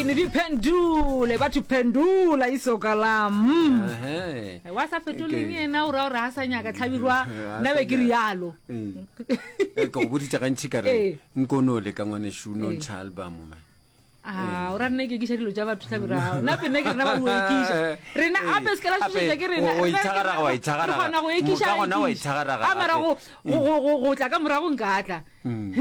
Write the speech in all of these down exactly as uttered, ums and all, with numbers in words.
Di pendule batho pendula isoka lam. Ehe. Wa sa fetoleng Ke- yena o ra gore a sa nyaka tlhabirwa A nna sa be ke nyaka. rialo. Ee. Eh, ke go boditše gantši ka Ee. re nkono le ka ngwanešu no ntšha album man. A o ra nna ke ekiša dilo tša batho tlhabirwa nna pe nna ke rena ba o ekiša rena Ee. ape se ka la Gape, šošetša ke rena o- o Rena ke ithagaraga, rena- wa ithagaraga. re kgona go ekiša Ka gona wa ekiša. ithagaraga A mara gape. go go- go- go- go tla ka morago nka tla Mm.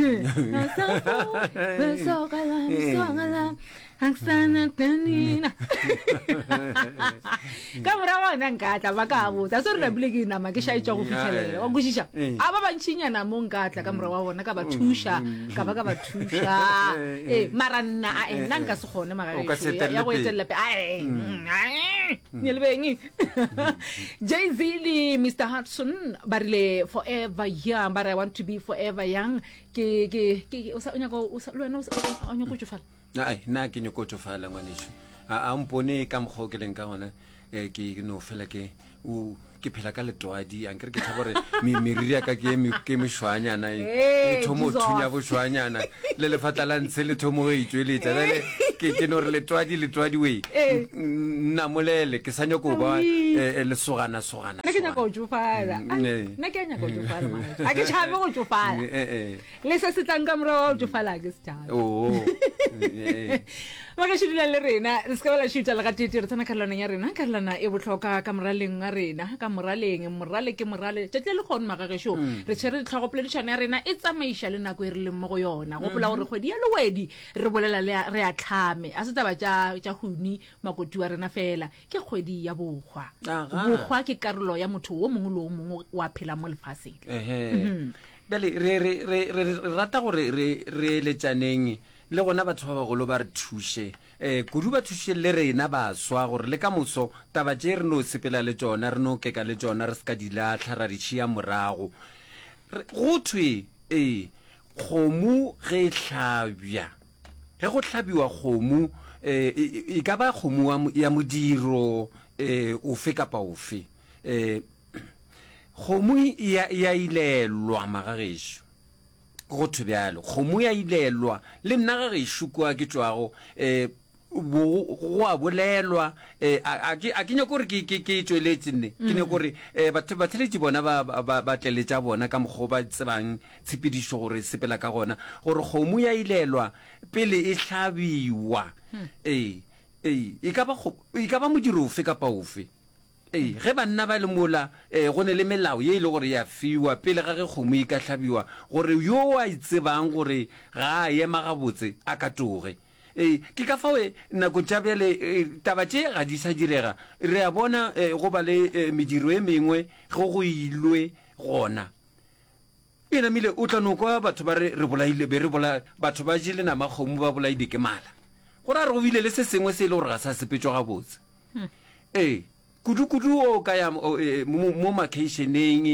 Ka morago gona nka tla ba ka botsa se re napile ke nama ke šaetša go fitlhelela wa kwešiša Ee. a ba bantšinyana mo nka tla ka morago wa bona ka ba thuša ka ba ka ba thuša ee mara nna ae nna nka se kgone O ka se magagešo ya go etelele pele. etelela pele ae ne le beng Jay-Z le Mr Hudson ba rile forever young, ba re I want to be forever young. Ke ke ke o sa o nyaka o sa le wena o sa o nyaka go tšofala. Ai, nna ke nyako tšofala ngwanešu. A a mpone ka mokgwa o ke leng ka gona, eh, ke no fela ke o ke phela ka letwadi, a nkere ke tšhaba gore me- meriri ya ka ke e me- ke mešwanyana e Hey, e thomo Jesus. thunya bošwanyana le lefatla la ntshe le thomo go itšweletša bjale ke ke no re letwadi letwadi we Ee. nnamolele ke sa nyako ba Awi. eh, eh, lesogana sogana Nna ke nyaka go tšofala. Mm, Ah, ee. Nna ke a nyaka go tšofala magagešo. A ke tšhabe go tšofala. Eh, eh. Le se se tlang ka morago ga go tšofala a ke se tšhabe. Oo. Eh, eh. Magešo dulang le rena, re se ka ba la šuta le gatete, re tsena karolwaneng ya rena, karolwana e bohlokwa ka moraleng wa rena, ka moraleng, morale ke morale, tšatši le lekgono magagešo, re tshwere ditlhogo, poledišano ya rena e tsamaiša le nako e re leng mo go yona. Gopola gore kgwedi ya Lewedi re bolela le re a tlhame, a se taba tša tša huni makoti wa rena fela, ke kgwedi ya bohwa. Aga. Bohwa ke karolo ya motho wo mongwe le wo mongwe wa phela mo lefaseng. Ehe. Bjale re re re re re rata gore re re eletšaneng le gona batho ba bagolo ba re thuše, eh, kudu ba thuše le rena baswa gore le ka moso taba tše re no sepela le tšona, re no keka le tšona, re se ka di lahla ra di tšhea morago. Re, go thwe, ee, kgomo ge e hlabja, ge go hlabiwa kgomo, eh, e, e, e ka ba kgomo wa mo-, ya modiro, eh, ofe kapa ofe, eh, kgomo e ya, e ya ilelwa magagešo. Go thwe bjalo, kgomo ya ilelwa. Le nna ga gešo kua ke tšwago, eh, bo, go a bolelwa, eh, a, a ke, a ke nyako gore ke, ke, ke tšweletše nne. Ke nyako gore, eh, batho, batheletši bona ba, ba, ba, ba tleletša bona ka mokgwa o ba tsebang tshepedišo gore e sepela ka gona, gore kgomo ya ilelwa pele e hlabiwa. Ee, ee, e ka ba kgo-, e ka ba modiro ofe kapa ofe. Ee, ge banna ba le mola, eh, go ne le melao ye e le gore ya fiwa pele ga ge kgomo e ka hlabiwa, gore yo a itsebang gore ga a ema gabotse a ka toge. Ee, ke ka fao, eh, nako tša bjale, eh, taba tše ga di sa direga. Re a bona, eh, go ba le, eh, mediro e mengwe ge go ilwe gona. E namile o tla no kwa batho ba re, re bolaile, be re bola, batho ba jele nama kgomo ba bolaile ke mala. Go ra re go bile le se sengwe se e le gore ga sa sepetšwa gabotse. Ee, kudu-kudu o ka ya, o, e, mo, mo makeišeneng,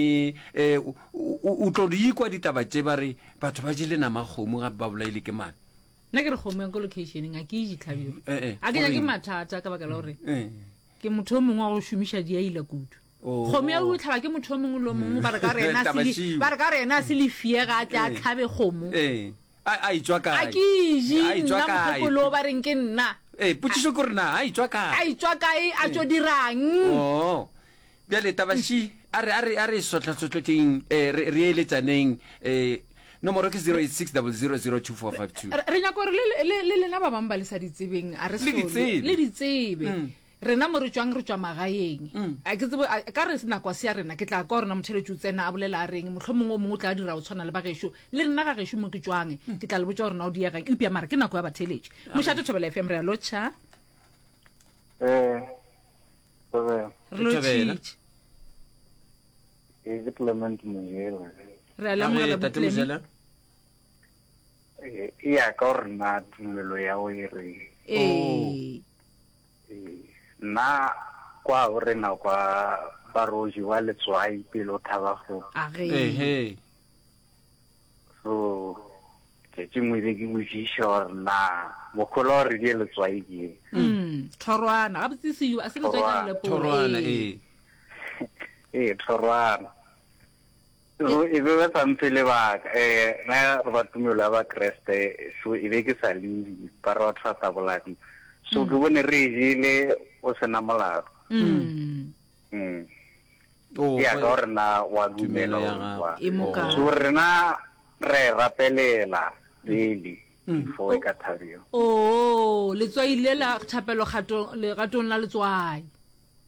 e, o, o, o tlo di kwa ditaba tše ba re batho ba jele nama kgomo gape ba bolaile ke mala. Nna ke re kgomo ya ko locationeng a ke e je tlhabirwa. Eh, eh, A ke nyake goreng? mathata ka baka la gore Eh. ke motho o mongwe wa go šomiša diaila kudu. Oh. Kgomo ya go tlhaba ke motho o mongwe le o mongwe, ba re ka re yena a se le- Taba ba re ka re yena a se le fie ga a tle a Eh. tlhabe kgomo. Eh. A, a etšwa kae? A ke e je A etšwa nna kae? mogopolo ba reng ke nna. Eh, potšišo ke gore na a etšwa kae? A etšwa kae, a tšo dirang? Oh. Bjale taba ši, a re, a re, a re sohlasohlotšeng, eh, re, re eletšaneng, eh, nomoro ke zero eight six double zero zero two four five two. Re, re nyaka gore le, le, le lena ba bangwe ba le sa di tsebeng, a re Le di sole. tsebe. Le di tsebe. Mm. Rena mo re tšwang, re tšwa magaeng. Mm. A ke tsebe, a, ka re nako a se ya rena, ke tla kwa gore na motheletši o tsena a bolela a reng, mohlomongwe o mongwe o tla dira go tshwana le ba gešo. Le nna ga gešo mo ke tšwang, Mm. ke tla le botša gore na o diegang, eupša mara ke nako ya batheletši. Mošate Thobela F M, re a lotšha. Eh, Thobela. Re Thobela. lotšhitše. Ke Clement Mojela. Re a lemogela, Tate Botlemi. Mojela. Eh, e ya ka gore na tumelo ya go e reng. Ee. Eh, nna kwa o rena kwa ba ro jewa letswai pele o thaba kgomo. A ge. Ehe. So, tšatši nngwe be ke botšiša gore na mokgola o re die letswai ke eng? Mm, thorwana. Gabotse se yo, a se letswai ka Thorwana. lelepolo. Thorwana, Ee. ee. Ee, thorwana. So, e be ba sa mphe lebaka. Eh, nna re ba tumelo ya ba Kreste, so e be ke sa lebe, ba re batho ba sa bolane. So ke bone re e jele o sena molato. Mm. Mm. Oh, Ya ka gore na wa Tumelo dumela ya or gago. wa. E mo kae? So rena re e rapelela pele before e ka thabiwa. Oo, letswai le la thapelo kgatong legatong la letswai.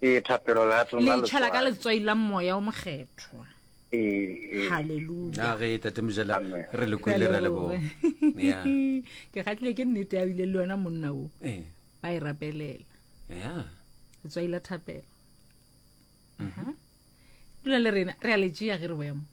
Ee, thapelo legatong Le la itšhela ka letswai. letswai la moya o mokgethwa. Ee, ee. Hallelujah. A ge tate Mojela Amen. re le kwele ra leboga. Ya. Ke kgatlile ke nnete ya bile le wena monna o. Eh. Ba e rapelela. Ya. Letswai la thapelo. Aha. Dula le rena, re a le tšea ge re boya mo.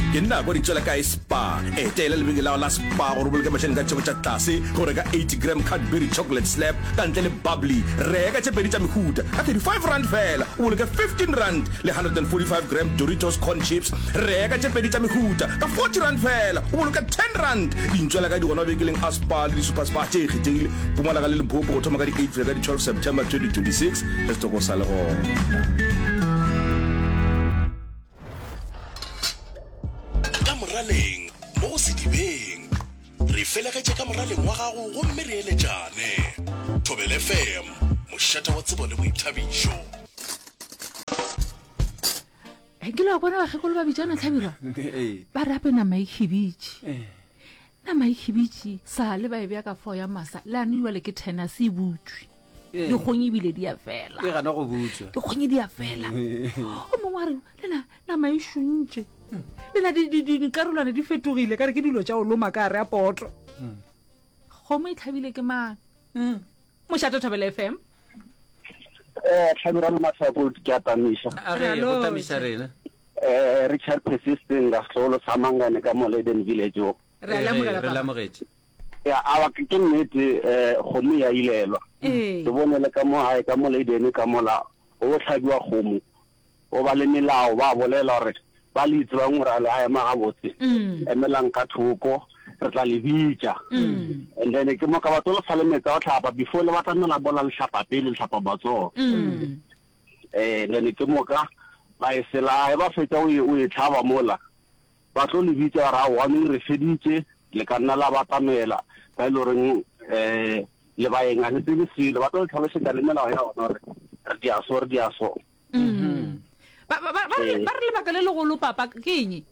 Ke nna kwa ditswela kae Spa. Etela lebenkele la la Spa gore o boloke mašeleng ka tšheko tša tlase go reka eighty gram Cadbury chocolate slab ka ntle le bubbly. Reka tše pedi tša mehuta ka thirty-five rand fela, o boloke fifteen rand, le hundred and forty-five gram Doritos corn chips. Reka tše pedi tša mehuta ka forty rand fela, o boloke ten rand. Dintswela ka di gona mabenkeleng a Spa le di-Super Spa tše kgethegile Mpumalanga le Limpopo go thoma ka di eight go fihla ka di twelve September twenty twenty-six. Ge setoko sa le gona. Ka moraleng mo go sedibeng re felegetše ka moraleng wa gago gomme re eletšane. Thobela F M, mošate wa tsebo le boithabišo. He, ke la bona bakgekolo ba bitšana Hlabirwa? Ee. Ba re ape nama e khibitše. Eh. Nama e khibitše, sa le ba e bea ka fao ya masa, le ane jwale ke ten a se e butšwe. Ee. Dikgong ebile di a fela. E gana go butšwa. Dikgong di a fela. O mongwe a re, le na nama e šuntše. Le na di, di, di, dikarolwana di fetogile, ka re ke dilo tša go loma ka gare a poto. Kgomo e tlhabile ke mang? Mošate Thobela F M. Eh, Hlabirwa le Mahlako, ke a tamiša. A re, go tamiša rena. Eh, Richard Persisting, ka setlogolo sa Mangane ka mo Leyden Village o. Re a Eh, lemogela, re papa. lemogetše. Ya, awa, ke, ke nnete, eh, kgomo ya ilelwa. Ee. Ke bone le ka mo gae, ka mo Leyden, ka mola, o hlabiwa kgomo. O ba le melao, ba bolela gore ba le itsebang gore a le a ema gabotse. Mm. Emelang ka thoko, re tla le bitša. Mm. And then ke mo ka batho le fa le metsi a go hlapa, before le batla mela bola le hlapa pele, le hlapa matsogo. Mm. Eh, then ke moka ba e sela, e ba fetša o e, o e tlhaba mola. Ba tlo le bitša ba re, aowa, neng re feditše, le ka nna la batamela, ba e le goreng, eh, le baeng ga le tsebe selo. Ba tlo le tlhalosetša le melao ya bona gore re dia so, re dia so. Mm. Ba, ba, ba, ba re, Eh. ba re lebaka le legolo, papa, ke eng?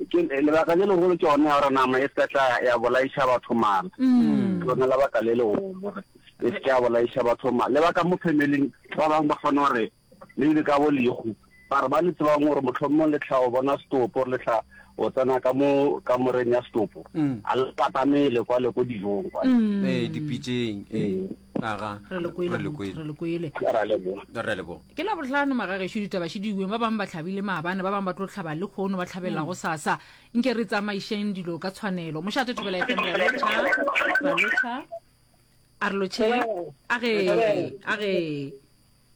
Ke, lebaka le legolo ke yona ya gore nama e se ka tla ya bolaiša batho mala. Mm. Ke lona lebaka le legolo gore e se ke ya bolaiša batho mala. Lebaka mo familing, ba bangwe ba kgona gore le ile ka bo lehu. Ba re ba le tsebang gore mohlomong le tla o bona setopo, le tla o tsena ka mo kamoreng ya setopo. Mm. A le patamele kwa le ko dijong kwa. Mm. Eh, dipitšeng, eh. Mm. Aga. Re le kwele, Re le kwele. re le kwele. Re a leboga. Re a leboga. Ke la bohlano magagešo ditaba še diweng, ba bangwe ba hlabile maabane, ba bangwe ba tlo hlaba le kgono, ba hlabela go sasa. Nke re tsamaišeng dilo ka tshwanelo. Mošate Thobela F M, re a lotšha, re a lotšha. A re lotšheng. A ge, a ge.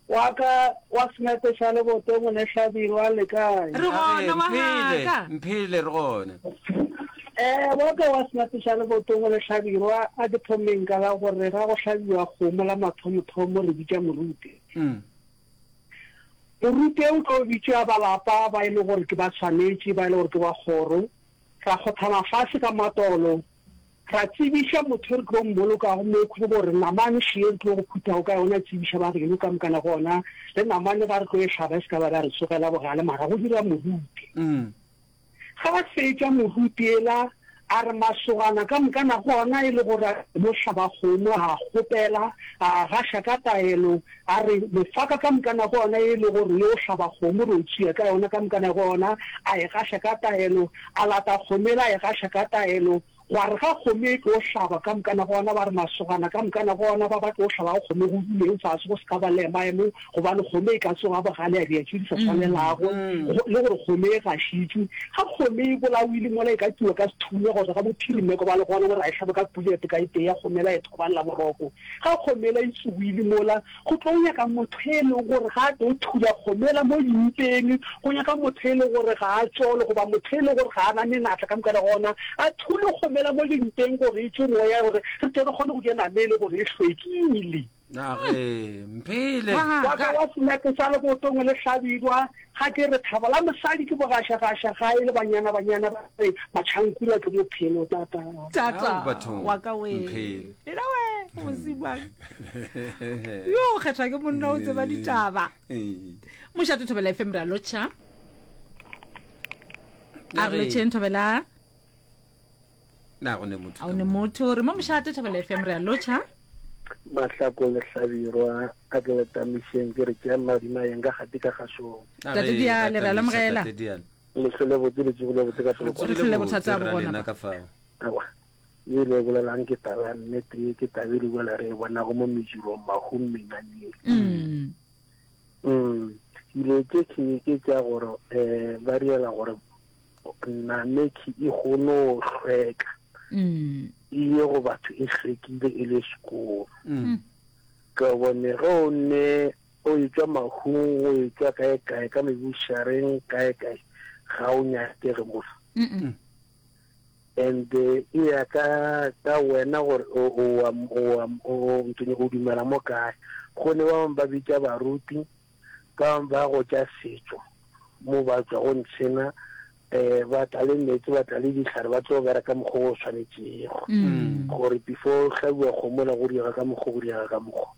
Wa ka wa Senepe sa Lebotong le Hlabirwa le kae? Re gona, wa Mphele, ka. mphele re gona. Eh, wa ka wa Senepe sa Lebotong le Hlabirwa a ke thomeng ka la gore ga go hlabiwa kgomo la mathomothomo re bitša moruti. Mm. Moruti o tlo bitša ba lapa ba e le gore ke ba tshwanetše, ba e le gore ke ba kgoro. Ra kgothama fase ka matolo, ra tsebiša motho re tlo mmolokago mo khwe gore namane še re tlo go phuthago ka yona, tsebiša ba geno ka mokana gona, le namane ga re tlo e hlaba e se ka ba ra re tsogela bogale, mara go dira moruti. Mm. Ga ba fetša moruti ela, a re masogana ka mokana gona e le gore a mo hlaba kgomo, a kgopela, a gaša ka taelo, a re mefaka ka mokana gona e le gore yo hlaba kgomo re o tšea ka yona ka mokana gona, a e gaša ka taelo, a lata kgomo ela, a e gaša ka taelo. Gwa re ga kgomo e tlo hlaba ka mokana gona, ba re masogana ka mokana gona ba ba tlo hlaba kgomo go duleng fase go se ka ba le maemo, gobane kgomo e ka tsoga bogale ya dia tše di sa tshwanelago, Mm. go-, le gore kgomo e gašitšwe. Ga kgomo e bolaoile mola e ka tiwa ka sethunya gore ga bophirimeko ba le gona gore a e hlabe ka bullet ka e tee ya kgomo ela e thobalela boroko. Ga kgomo ela e tsoile mola, go tlo nyaka motho e leng gore ga a tlo thula kgomo ela mo dimpeng, go nyaka motho e leng gore ga a tsole, goba motho e leng gore ga a na menatla ka mokana gona, a thule kgomo ela mo dimpeng gore e tšwe moya, gore re tle re kgone go ja nama e le gore e hlwekile. Age, mphele. Wa ka wa senepe sa lebotong le hlabirwa, ga ke re thabo la mosadi ke bogašagaša gae le banyana banyana ba re matšhankula ke bophelo tata. Tata Ao, bathong, wa ka we. mphele. Ena we, mosimane. Yo o kgethwa ke monna o tseba ditaba. Ee. Mošate Thobela F M re a lotšha. A re Age. lotšheng Thobela. Na go ne motho A ka o ne mo. motho re mo mošate Thobela F M re a lotšha. Mahlako le Hlabirwa a ke le tamišeng ke re tšea madima yeng ka gati ka gašong. A Tate re, Diale, re a tamiša, lemogela. Tate Diale. Le hlole botse le tsogile botse ka Re polokwane. Re tsogile hlole botse, bothata bo ra gona lena pa. ka fao. Aowa, ye le bolelang ke taba ya nnete ye, ke taba e le bolela re e bonago mo mejirong, mahung, menyanyeng. Mm. Mm. Dilo tše ke ke tša gore, eh, ba riela gore namekhi e kgone go hlweka. Mm. E ye go batho e hlwekile e le sekolo. Mm. Ka bone ge o ne o etšwa mahung, o etšwa kae kae, ka mebušareng kae kae, ga o nyakege mola. Mm-mm. And, eh, e ya ka, ka wena gore o, o, o, o, o, o, o dumela mo kae. Go ne ba bangwe ba bitša baruti, ba bangwe ba go tša setšo, mo ba tšwa go ntshena, eh, ba tla le meetse, ba tla le dihlare, ba tlo bereka ka mokgwa o swanetšego. Mm. Gore before o hlabiwa kgomo la go diega ka mokgwa, go diega ka mokgwa.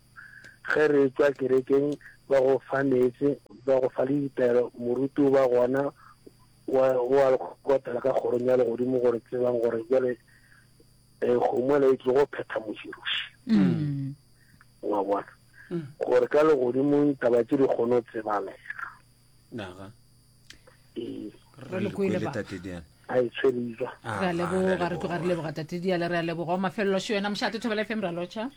Ge re tšwa kerekeng, ba go fa meetse, ba go fa le ditaelo, moruti o ba gona, wa, wa le kgotela ka kgorong ya legodimo gore tsebang gore bjale, eh, kgomo ela e tlo go phetha moširoši. Mm. Wa bona? Mm. Gore ka legodimong taba tše di kgone go tsebalega. Naga. Ee. Re le kwele ba. Tate Diale. A e tshwere Ah, Re a re a leboga, re tloga re leboga. leboga Tate Diale, re a leboga. O mafelelo šo yena mošate Thobela F M re a lotšha.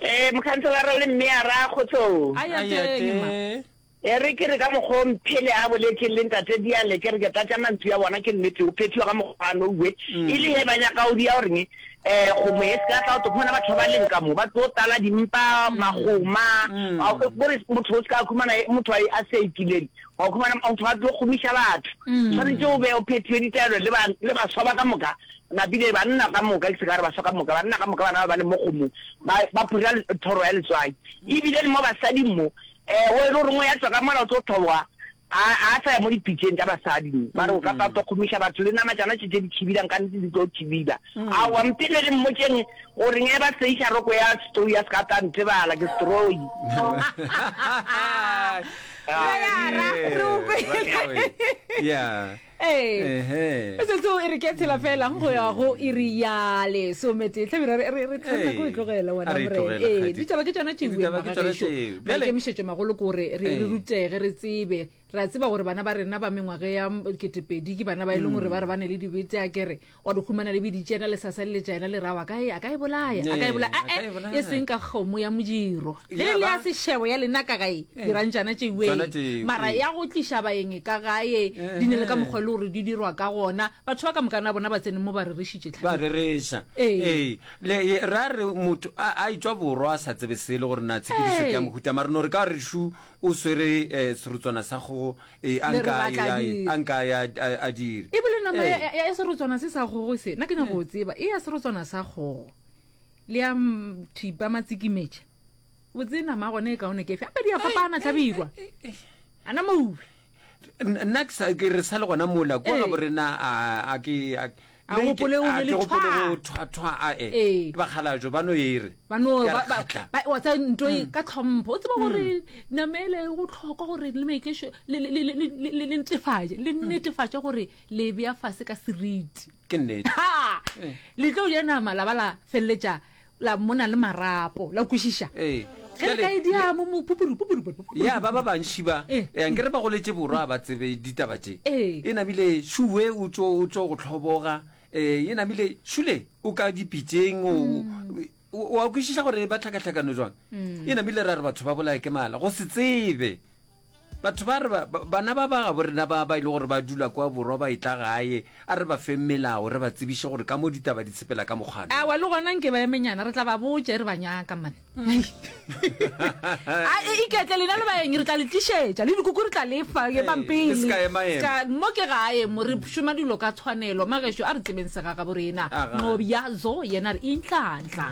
Eh, mokhanselara le mme a ra kgotsong. A ya A ya teng, ma. teng. E re ke re ka mokgwa o mphele a boletseng le Ntate Diale, ke re ke tlatša mantšu a bona ke nnete, o phethiwa ka mokgwa a nouwe. Mm. E le he ba nyaka o dia goreng, eh, kgomo e se ka tla o tlo khumana batho ba ba leng ka mo, ba tlo tala dimpa, Mm. magoma, Mm. a, gore motho o se ka khumana motho a, a se ikileng, wa khumana motho a tlo kgomiša batho. Mm. Tshwanetse o be o phethiwe ditaelo le ba, le baswa ba ka moka, napile banna ka moka, ke se ka re baswa ka moka, banna ka moka bana ba ba leng mo kgomong, ba, ba phura thoro ya letswai. Ebile le mo basading mo, eh, o e le gore ngwe ya tswa ka mola o tlo thoboga, a, a sa ya mo dipitšeng tša basadi mo. Ba re o ka tla tlo kgomiša batho le nama tšana tše tše di thibilang, ka nnete di tlo thibila. Aowa, mpele le mmotšeng gore nge ba seiša roko ya setroi ya se ka tla ntebala, ke setroi. Re o kwele. Yeah. Ee. Ehe. Metsotso e re ke tshela fela go ya go iri ya lesometee. Hlabirwa, re, re, re tshwanela ke go e tlogela wena A re e Morena. tlogele, Ee, Kgadi. ditaba ke tšona tšeo, Ditaba ke tšona Magagesho. tšeo. Bjale- Maikemišetšo magolo ke gore re, re Ee. rutege, re tsebe. Re a tseba gore bana ba rena ba mengwaga ya ketepedi ke bana ba e leng gore ba re ba ne le dibete, a kere wa di humana le biditše yena le sasa le letša yena le rawa, a ka e, a ka e bolaya, a ka e bolaya. Ee, a ka e Eh, eh, bolaya. e seng ka kgomo ya modiro. Ge Ya le ya ba. sešebo ya lena ka gae, Eh. dirang tšana tšeo. Tšona tšeo, Mara ee. ya go tliša baeng ka gae, di ne le ka mokgwa le gore di dirwa ka gona. Batho ba ka moka na bona ba tsene mo ba rerešitše Ba tlhabelo. rereša. Ee. Ee. Le, e, ra re motho a, a etšwa borwa a sa tsebe selo gore na tshepedišo ke ya Ee. mohuta, mara no re ka re šu o swere, eh, serotswana sa kgogo, eh, a Le re nka batla ya, dire. a nka ya, a, a dire. Ebile nama Ee. ya, ya, ya serotswana se sa kgogo se, nna ke nyaka go tseba, e ya serotswana sa kgogo le ya m-, thipa matsikimetša, botse nama ya gona e kaone ke efe? Gape di a fapana, Hlabirwa. Ana moube. N-, nna ke sa, ke re sa le gona mola, kwa Ee. gabo rena, a, a ke, a, A le gopole o ke, a ne le ke gopole thwa. go thwa, thwa, a, e. Ee. Ke bakgalajwe, ba no e re. Ba no, Ke a ba, re ba, kgatla. ba, wa tseba ntho e ka tlhompho. O tseba gore nama ele e bohlokwa gore le maikešo, le, le, le, le, le, le, le netefatše, le netefatše gore le bea fase ka seriti. Ke nnete. Ha! Le tlo ja nama la ba la feleletša la mona le marapo, la kwešiša. Ee. Ge re ka e dia mo, mo, pupuru, pupuru, pupuru, pupuru. Ya, ba ba bantši ba, Eh. eh, nkere ba goletše borwa ba tsebe ditaba tše. Eh. E namile šuwe o tšo, o tšo go tlhoboga. Eh, e namile šule o ka dipitšeng, o, Mm. o, o a kwešiša gore ba tlhakatlhakano jwang. Mm. E namile ra re batho ba bolaye ke mala, go se tsebe. Batho ba re ba, ba, bana ba ba gabo rena ba, ba e le gore ba dula kwa borwa ba etla gae, a re ba fe melao, re ba tsebiše gore ka mo ditaba di tshepela ka mokgwa. Aowa, le gona nke ba emenyana, re tla ba botša re ba nyaka, man. A, e, iketle lena le baeng, re tla le tlišetša, le dikuku re tla le fa, ke Ee, pampiri. le se ka ema ema. Ska, mo ke gae, mo re šoma dilo ka tshwanelo. Magešo, a re tsebeng segagabo rena. Aga. Nqobja zo, yena re inhlanhla.